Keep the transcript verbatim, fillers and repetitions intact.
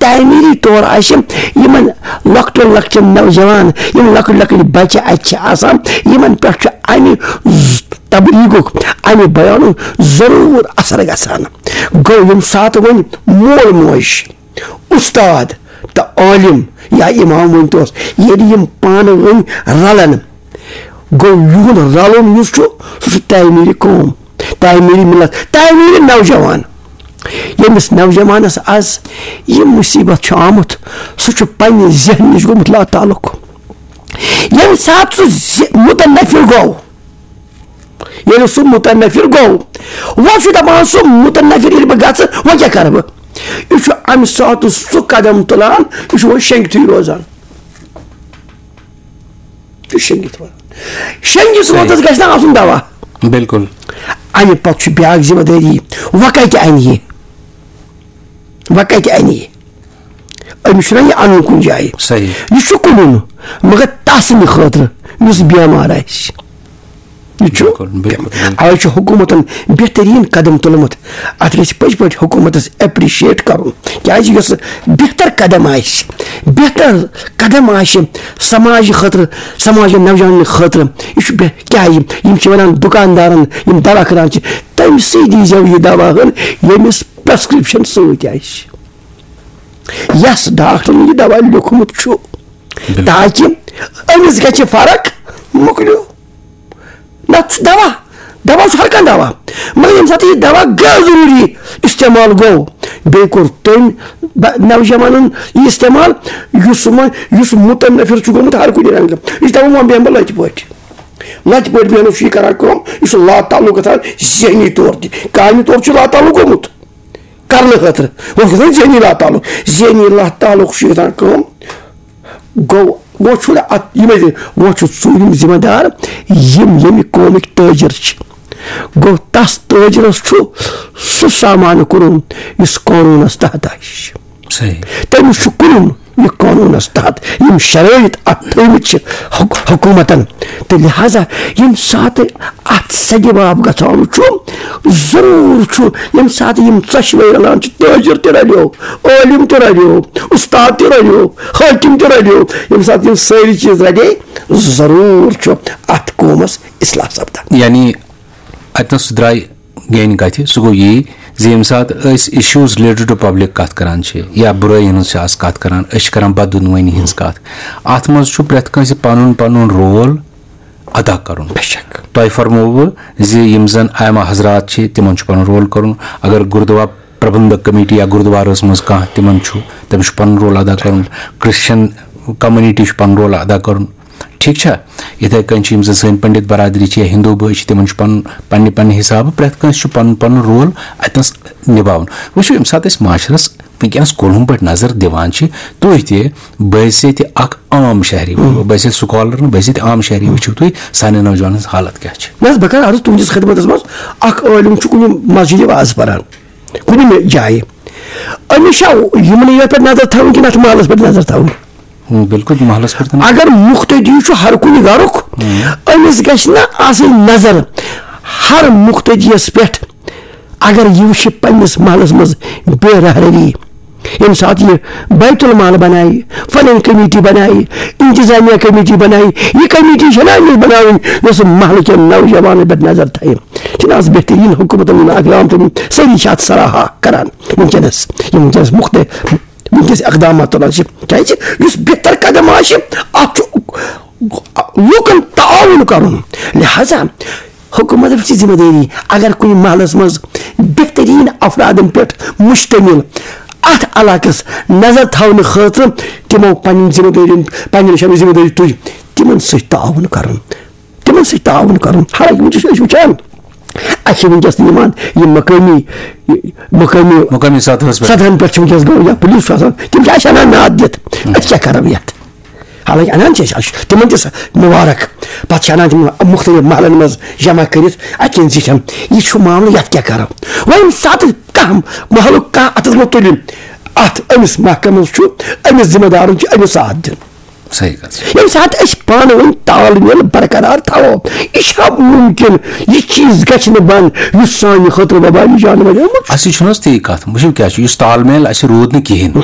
تعمیٖری طور آسہِ یِمن لۄکٹٮ۪ن لۄکٹٮ۪ن نوجوان، یِم لۄکٕٹۍ لۄکٕٹۍ بچہِ اَتہِ چھِ آسان، یِمن پٮ۪ٹھ چھُ اَمہِ ز-، تبلیغُک، اَمہِ بیانُک ضروٗر اثر گژھان۔ گوٚو، ییٚمہِ ساتہٕ وۄنۍ مول موج، اُستاد تہٕ عٲلِم یا اِمام ؤنۍ توس، ییٚلہِ یِم پانہٕ ؤنۍ رلن، گوٚو، یِہُنٛد رلُن یُس چھُ، سُہ چھُ تعمیٖرِ قوم، تعمیٖرِ مِلت، تعمیٖرِ نوجوان۔ ییٚمِس نوجوانس از یہِ مُصیبت چھُ آمُت، سُہ چھُ پننہِ ذہنہٕ نِش گوٚمُت لاتعلق۔ ییٚمہِ ساتہٕ سُہ زِ-، متنفر گوٚو، ییٚلہِ سُہ متنفر گوٚو، وۄنۍ چھُ دپان سُہ متنفر، ییٚلہِ بہٕ گژھٕ، وۄنۍ کیٛاہ کرٕ بہٕ؟ یہِ چھُ امہِ ساتہٕ سُہ قدم تُلان، یہِ چھُ وۄنۍ شنٛگتھٕے روزان۔ تہٕ شٔنگِتھ روزان۔ شٔنگِتھ صحیح۔ روزنس گژھِ نہ آسُن دوا۔ بِلکُل۔ امہِ پتہٕ چھُ بیاکھ ذمہٕ دٲری، وۄنۍ کتہِ انہِ یہِ؟ وۄنۍ کتہِ انہِ یہِ؟ أمِس چھُنہ یہِ انُن کُنہِ جایہِ۔ صحیح۔ یہِ چھُ کٕنُن، مگر تس نہٕ خٲطرٕ یُس بٮ۪مار آسہِ۔ یہِ چھُ بِلکُل، بِلکُل، بِلکُل۔ اوے چھُ حکوٗمتن بہتریٖن قدم تُلمُت۔ اتھ گژھِ پٔزۍ پٲٹھۍ حکوٗمتس appreciate کرُن۔ کیازِ یۄس بہتر قدم آسہِ، بہتر قدم آسہِ سماجہِ خٲطرٕ، سماجہِ نوجوانن خٲطرٕ، یہِ چھُ بہ-، کیٛاہ یِم، یِم چھِ ونان دُکاندارن، یِم دوا کٕنان چھِ، تٔمۍ سٕے دیٖزیو یہِ دوا ہن، ییٚمِس prescription سۭتۍ آسہِ۔ یس ڈاکٹرن یہِ دوا لیوٗکھمُت چھُ، بِلکُل۔ تاکہِ أمِس گژھِ فرق، مۄکلیو۔ نتہٕ چھُ دوا، دوا چھُ ہر کانٛہہ دوا، مگر ییٚمہِ ساتہٕ یہِ دوا غٲر ضروٗری استعمال گوٚو، بیٚیہِ کوٚر تٔمۍ ب-، نوجوانن یہِ استعمال، یُس وۄنۍ، یُس متنفر چھُ گوٚمُت ہر کُنہِ رنگہٕ، یہِ چھُ دپان وۄنۍ بیٚہمہٕ بہٕ لتہِ پٲٹھۍ، لتہِ پٲٹھۍ بیٚہنَس چھُ یہِ کران کٲم، یہِ چھُ لاتعلق گژھان ذہنی طور تہِ، کامہِ طور چھُ لاتعلق گوٚمُت کرنہٕ خٲطرٕ، وۄنۍ چھُ گژھان ذہنی لاتعلق، ذہنی لاتعلق چھُ گژھان کٲم، گوٚو، وۄنۍ چھُنہٕ اَتھ یِمَے زِ-، وۄنۍ چھُ ژوٗرِم ذمہٕ دار یِم ییٚمہِ قومٕکۍ تٲجِر چھِ۔ گوٚو، تَس تٲجرَس چھُ سُہ سامان کٕنُن یُس قونوٗنَس تحت آسہِ۔ صحیح۔ تٔمِس چھُ کٕنُن یہِ قونوٗنَس تحت۔ یِم شرٲیِط اَتھ تھٲومٕتۍ چھِ حُک-، حکوٗمتَن، تہٕ لہذا ییٚمہِ ساتہٕ اَتھ سَدِ باب گژھان چھُ، ضروٗر چھُ، ییٚمہِ ساتہٕ یِم ژۄشوَے رَلان چھِ، تٲجِر تہِ رَلیو، عٲلِم تہِ رَلیو، اُستاد تہِ رَلیو، حٲکِم تہِ رَلیو، ییٚمہِ ساتہٕ یِم سٲری چیٖز رَلے، ضروٗر چھُ اَتھ قومَس اصلاح سَپدان۔ یعنی اَتہِ نَس درٛاے گینہِ کَتھِ، سُہ گوٚو یی زِ ییٚمہِ ساتہٕ أسۍ issues related to public کَتھ کَران چھِ یا بُرٲیی ہٕنٛز چھِ آز کَتھ کَران، أسۍ چھِ کَران بدعنوٲنی ہٕنٛز کَتھ۔ اَتھ منٛز چھُ پرٛٮ۪تھ کٲنٛسہِ پَنُن پَنُن role ادا کرُن۔ بے شک۔ تۄہہِ فرمووٕ زِ یِم زن ائمہ حضرات چھِ، تِمن چھُ پنُن role کرُن۔ اگر گردوار پربندھک کمیٹی یا گردوارس منٛز کانٛہہ تِمن چھُ، تٔمِس چھُ پنُن role ادا کرُن۔ کرسچن community چھُ پنُن role ادا کرُن۔ ٹھیٖک چھا؟ یِتھے کٔنۍ چھِ یِم زن سٲنۍ پنڈت برادری چھِ یا ہندو بٲے چھِ، تِمن چھُ پنُن، پننہِ پننہِ حسابہٕ پرٛٮ۪تھ کٲنٛسہِ چھُ پنُن پنُن role اتنس نباوُن۔ وٕچھِو، ییٚمہِ ساتہٕ أسۍ معاشرس وٕنکیٚنَس کُلہُم پٲٹھۍ نظر دِوان چھِ، تُہۍ تہِ بحیثیت اکھ عام شہری، بہٕ حیثیت scholar نہٕ، بحیثیت عام شہری وٕچھِو تُہۍ سانٮ۪ن نوجوانن ہٕنٛز حالت کیٛاہ چھِ۔ نہ حظ، بہٕ کرٕ عرض تُہنٛدِس خدمتس منٛز، اکھ عٲلِم چھُ کُنہِ مسجدِ واز پران، کُنہِ مہِ جایہِ، أمِس چھا یِمنٕے یوت پٮ۪ٹھ نظر تھاوٕنۍ کِنہٕ اتھ محلس پٮ۪ٹھ نظر تھاوٕنۍ؟ ہُم، بِلکُل محلس پٮ۪ٹھ تہِ نظر۔ اگر مُقتدی چھُ ہر کُنہِ گرُک، ہُم۔ أمِس گژھِ نہ آسٕنۍ نظر ہر مُقتدیَس پٮ۪ٹھ۔ اگر یہِ وٕچھِ پننِس محلس منٛز بے رہروی، ییٚمہِ ساتہٕ یہِ بیت المال بنایہِ، فنن کمیٹی بنایہِ، انتظامیہ کمیٹی بنایہِ، یہِ کمیٹی چھےٚ نہ أمِس بناوٕنۍ یۄس محلہٕ کٮ۪ن نوجوانن پٮ۪ٹھ نظر تھایہِ۔ چھِنہٕ آز بہتریٖن حکوٗمتن یِم اقدام تُلمٕتۍ، سٲری چھِ اتھ سراہا کران وٕنکیٚنس، یِم وٕنکیٚنس مُختٔ-، وٕنکیٚنس اقدامات تُلان چھِ، کیازِ یُس بہتر قدم آسہِ، اتھ چھُ لوٗکن تعاوُن کرُن۔ لہذا حکوٗمتس چھِ ذمہٕ دٲری، اگر کُنہِ محلس منٛز بہتریٖن افرادن پٮ۪ٹھ مشتمل اتھ علاقس نظر تھاونہٕ خٲطرٕ تِمو پننٮ۪ن ذمہٕ دٲرین، پننٮ۪ن نِش ذمہٕ دٲری تُج، تِمن سۭتۍ تعاوُن کرُن، تِمن سۭتۍ تعاوُن کرُن۔ حالانکہ وٕنکیٚس چھِ أسۍ وٕچھان، اسہِ چھِ وٕنکیٚس تہِ یِوان یِم مقٲمی، مقٲمی مقٲمی سطحس پٮ۪ٹھ۔ سطحن پٮ۪ٹھ چھِ وٕنکیٚس گوٚو یا پُلیٖس چھُ آسان، تِم چھِ اسہِ انان ناد دِتھ، أسۍ کیٛاہ کرو یتھ؟ حالانکہ انان چھِ أسۍ، اَسہِ چھُ تِمن تہِ سۄ مُبارک۔ پتہٕ چھِ انان تِم مُختٔلِف محلن منٛز جمع کٔرِتھ، اتہِ کٮ۪ن زِٹھٮ۪ن، یہِ چھُ معاملہٕ، یتھ کیٛاہ کرو؟ وۄنۍ ییٚمہِ ساتہٕ کانٛہہ محلُک کانٛہہ اتھس منٛز تُلہِ، اتھ أمِس محکمس چھُ، أمِس ذمہٕ دارن چھُ أمِس ساتھ دیُن۔ صحیح کتھ چھِ۔ ییٚمہِ ساتہٕ أسۍ پانہٕ ؤنۍ تال میل برقرار تھاوو، یہِ چھا مُمکِن یہِ چیٖز گژھِ نہٕ بنٛد یُس سانہِ خٲطرٕ وبٲلی جانور اوٚنمُت چھُ؟ اَسہِ چھُنہٕ حظ تی کتھ، وٕچھِو کیٛاہ چھُ، یُس تال میل اَسہِ روٗد نہٕ کِہیٖنۍ،